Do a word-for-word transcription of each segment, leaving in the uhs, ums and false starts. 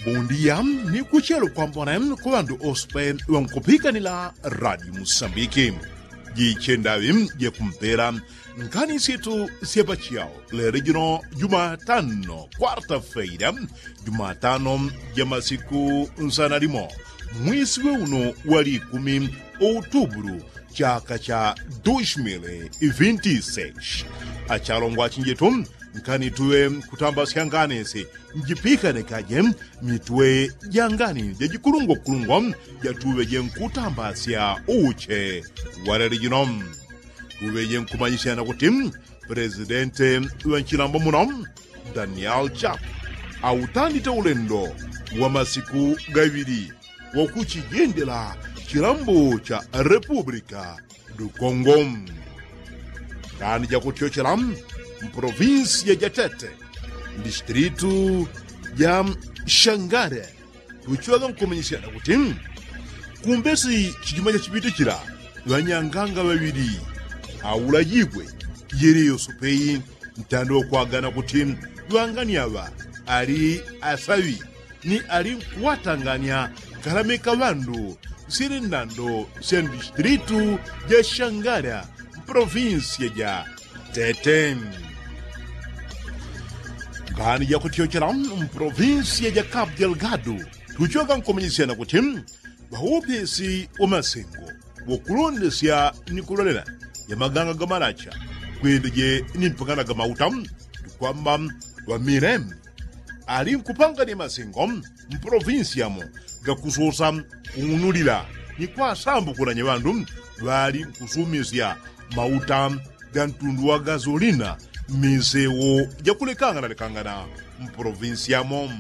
Bondia ni kuchelo kwambona ku ŵandu ospe ŵankupikanila radio musambiki. Jichendaŵi jekumpela nkani situ syapachao lelo jino jumatano kwarta feira, jumatano ja masiku nsana limo mwisi we uno wa likumi outubulu chaka cha dos mil e vinte e seis. Achalongwa chinjetu nkani tuŵe kutambasya nganisi njipikane kaje mitwe ja ngani jajikulungwakulungwa jatuŵeje nkutambasya uche walele jino. Tuŵeje nkumanyisyana kuti presidente ŵa nchilambo muno daniel chap autandite ulendo wa masiku gaŵili wakuchijendela chilambo cha republika du kongo. Ngani jakutyochela mprovinsiya ja tete mdistritu ja shangare tuchiŵaga nkumanyisyana kuti kumbesi chijuma chachipite chila ŵanyanganga ŵaŵili aulajigwe yele yosopeyi ntando wakwagana kuti ŵangani aŵa ali asaŵi ni ali nkuŵatangania kalamika ŵandu sili ndando sya mdistritu ja shangara mprovinsiya ja tete. Ngani jakutyochela mprovinsiya ja kapu delgado tuchoka nkumanyisyana kuti ŵaupisi wa masengo wakulondesya ni kulolela ya maganga ga malacha kwendeje ni mpangana ga mauta tukwamba ŵamilembe ali nkupangania masengo mpolovinsiyamo gakusosa kung'unulila ni kwasambukulanya ŵandu ŵali nkusumisya mauta ga ntundu wa gazolina mmisewo jakulekanganalekangana mpolovinsiyamo.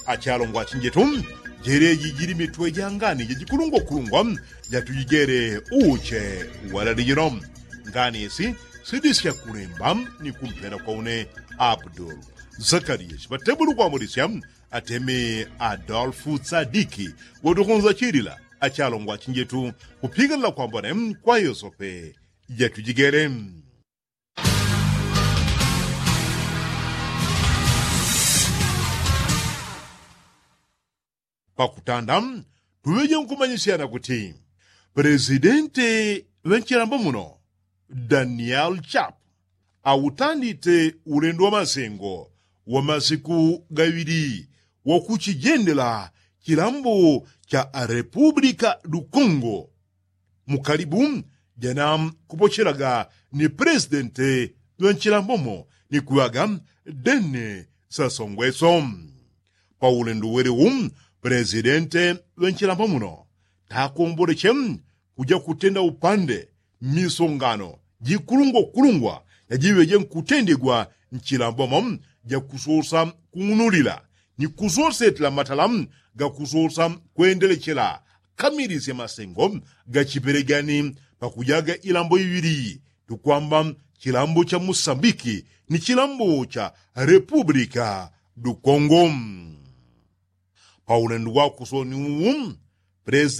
Achalongwa achinjetu jeleji jili mitwe jangani jajikulungwakulungwa jatujijele uche walali jino. Ngani isi sidisya kulemba ni kumpela kwa une abdul zakariya chiŵatebulu kwamulisya atemi adolfu tsadiki watukunza chilila achalongwa achinjetu kupigalila kwambone kwa yosope jatujigele. Pakutanda tuŵeje nkumanyisyana kuti pelesidente ŵa nchilambo muno daniel chap autandite ulendo wa masengo wa masiku gaŵili wakuchijendela chilambo cha repupulika du kongo mukalibu jana kupochelaga ni pelesidente ŵa nchilambomo ni kuŵaga dene sasongweso. Paulendo welewu pelesidente ŵa nchilambo muno takomboleche kuja kutenda upande mmisongano jikulungwakulungwa jajiŵeje nkutendegwa nchilambomo jakusosa kung'unulila ni kusosetela matala gakusosa kwendelechela kamilisya masengo gachipelegani pakujaga ilambo iŵili tukwamba chilambo cha musambiki ni chilambo cha repupulika du kongo. Paulendo wakusoni uwu pelesidenti